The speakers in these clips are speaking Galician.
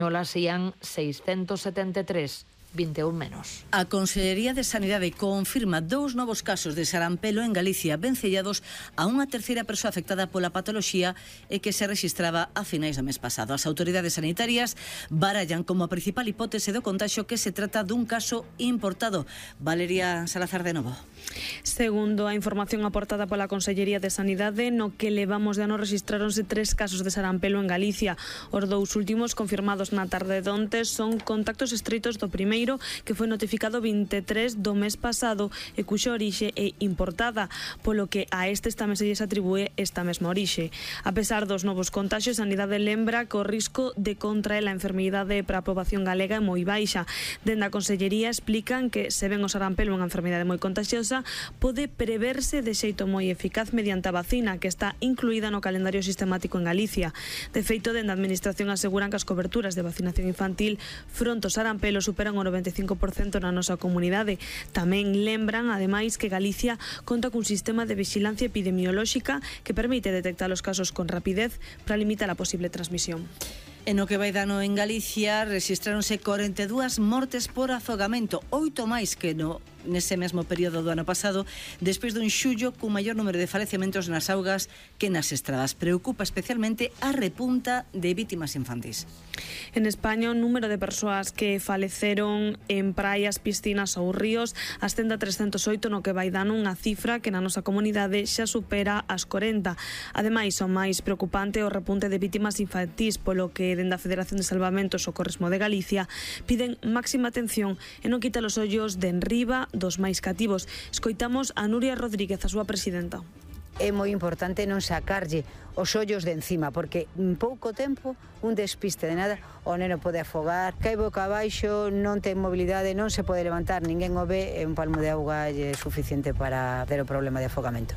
Nolas ían 673. 21 menos. A Consellería de Sanidade confirma 2 novos casos de sarampelo en Galicia, vencellados a unha terceira persoa afectada pola patoloxía e que se rexistraba a finais do mes pasado. As autoridades sanitarias barallan como a principal hipótese do contagio que se trata dun caso importado. Valeria Salazar de novo. Segundo a información aportada pola Consellería de Sanidade, no que levamos de ano rexistráronse 3 casos de sarampelo en Galicia. Os 2 últimos confirmados na tarde de onte son contactos estreitos do primeiro, que foi notificado 23 do mes pasado e cuxa orixe é importada, polo que a estes tamén se lles atribúe esta mesma orixe. A pesar dos novos contaxios, a Sanidade lembra que o risco de contraer a enfermidade para a poboación galega é moi baixa. Dende a Consellería explican que se ven o sarampelo unha enfermidade moi contagiosa, pode preverse de xeito moi eficaz mediante a vacina que está incluída no calendario sistemático en Galicia. De feito, dende a Administración aseguran que as coberturas de vacinación infantil fronte ao sarampelo superan o 95% na nosa comunidade. Tamén lembran, ademais, que Galicia conta cun sistema de vixilancia epidemiolóxica que permite detectar os casos con rapidez para limitar a posible transmisión. En o que vai dano en Galicia, rexistráronse 42 mortes por afogamento, 8 máis que nese mesmo período do ano pasado, despois dun xullo cun maior número de falecementos nas augas que nas estradas. Preocupa especialmente a repunta de vítimas infantis. En España, o número de persoas que faleceron en praias, piscinas ou ríos ascende a 308 no que vai dano, unha cifra que na nosa comunidade xa supera as 40. Ademais, o máis preocupante é o repunte de vítimas infantís, polo que dende a Federación de Salvamento e Socorrismo de Galicia piden máxima atención e non quitar os ollos de enriba dos máis cativos. Escoitamos a Nuria Rodríguez, a súa presidenta. É moi importante non sacarlle os ollos de encima, porque en pouco tempo, un despiste de nada, o neno pode afogar, cai boca abaixo, non ten mobilidade, non se pode levantar, ninguén o ve, e un palmo de auga é suficiente para ter o problema de afogamento.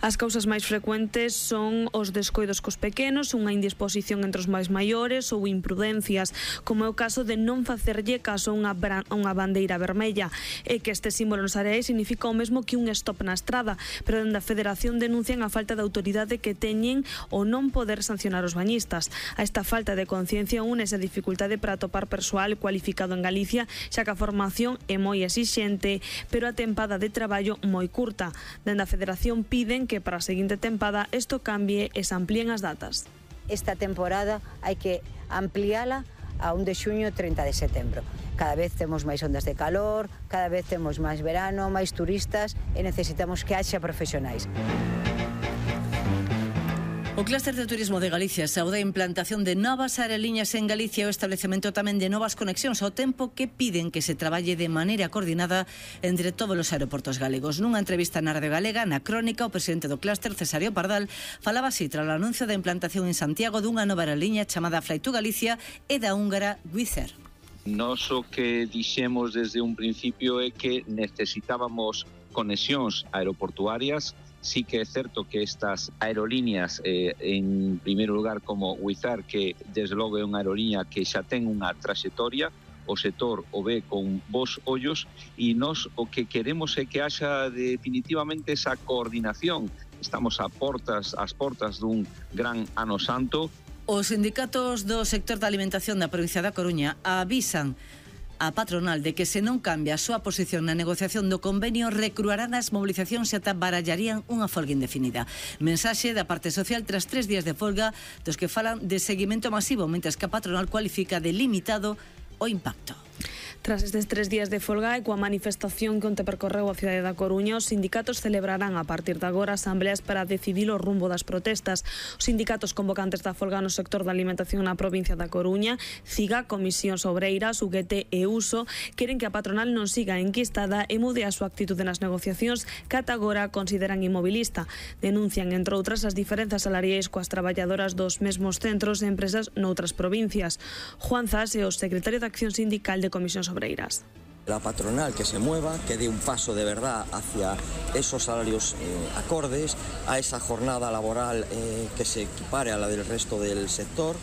As causas máis frecuentes son os descoidos cos pequenos, unha indisposición entre os máis maiores ou imprudencias, como é o caso de non facerlle caso a unha bandeira vermella, e que este símbolo nos areais significa o mesmo que un stop na estrada, pero dende a Federación denuncian a falta de autoridade que teñen o non poder sancionar os bañistas. A esta falta de conciencia únese a dificultade para atopar persoal cualificado en Galicia, xa que a formación é moi exixente, pero a tempada de traballo moi curta. Dende a Federación piden que para a seguinte tempada isto cambie e se amplíen as datas. Esta temporada hai que ampliala a 1 de xuño e 30 de setembro. Cada vez temos máis ondas de calor, cada vez temos máis verano, máis turistas e necesitamos que haxa profesionais. O Clúster de Turismo de Galicia saúda a implantación de novas aerolíneas en Galicia e o establecemento tamén de novas conexións, ao tempo que piden que se traballe de maneira coordinada entre todos os aeroportos galegos. Nunha entrevista na Radio Galega, na Crónica, o presidente do Clúster, Cesario Pardal, falaba así tras o anuncio da implantación en Santiago dunha nova aerolínea chamada Fly2 Galicia e da húngara Wizz Air. Nós o que dixemos desde un principio é que necesitábamos conexións aeroportuarias. Sí que é certo que estas aerolíneas, en primeiro lugar como Wizz Air, que desde logo é unha aerolínea que xa ten unha traxectoria, o sector o ve con bons ollos, e nós o que queremos é que haxa definitivamente esa coordinación. Estamos ás portas dun gran ano santo. Os sindicatos do sector da alimentación da provincia da Coruña avisan a patronal de que se non cambia a súa posición na negociación do convenio, recruarán as movilizacións e ata barallarían unha folga indefinida. Mensaxe da parte social tras 3 días de folga dos que falan de seguimento masivo, mentres que a patronal cualifica de limitado o impacto. Tras estes 3 días de folga e coa manifestación que onte percorreu a cidade da Coruña, os sindicatos celebrarán a partir de agora asambleas para decidir o rumbo das protestas. Os sindicatos convocantes da folga no sector da alimentación na provincia da Coruña, CIGA, Comisións Obreiras, UGT e USO, queren que a patronal non siga enquistada e mude a súa actitude nas negociacións que ata agora consideran inmobilista. Denuncian, entre outras, as diferenzas salariais coas traballadoras dos mesmos centros e empresas noutras provincias. Juan Zas é o secretario de Acción Sindical de Comisións Obreiras. La patronal que se mueva, que dé un paso de verdad hacia esos salarios acordes, a esa jornada laboral que se equipare a la del resto del sector,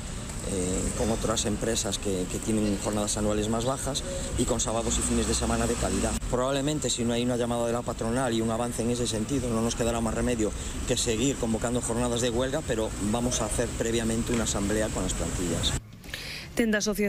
con otras empresas que tienen jornadas anuales más bajas y con sábados y fines de semana de calidad. Probablemente si no hay una llamada de la patronal y un avance en ese sentido, no nos quedará más remedio que seguir convocando jornadas de huelga, pero vamos a hacer previamente una asamblea con las plantillas.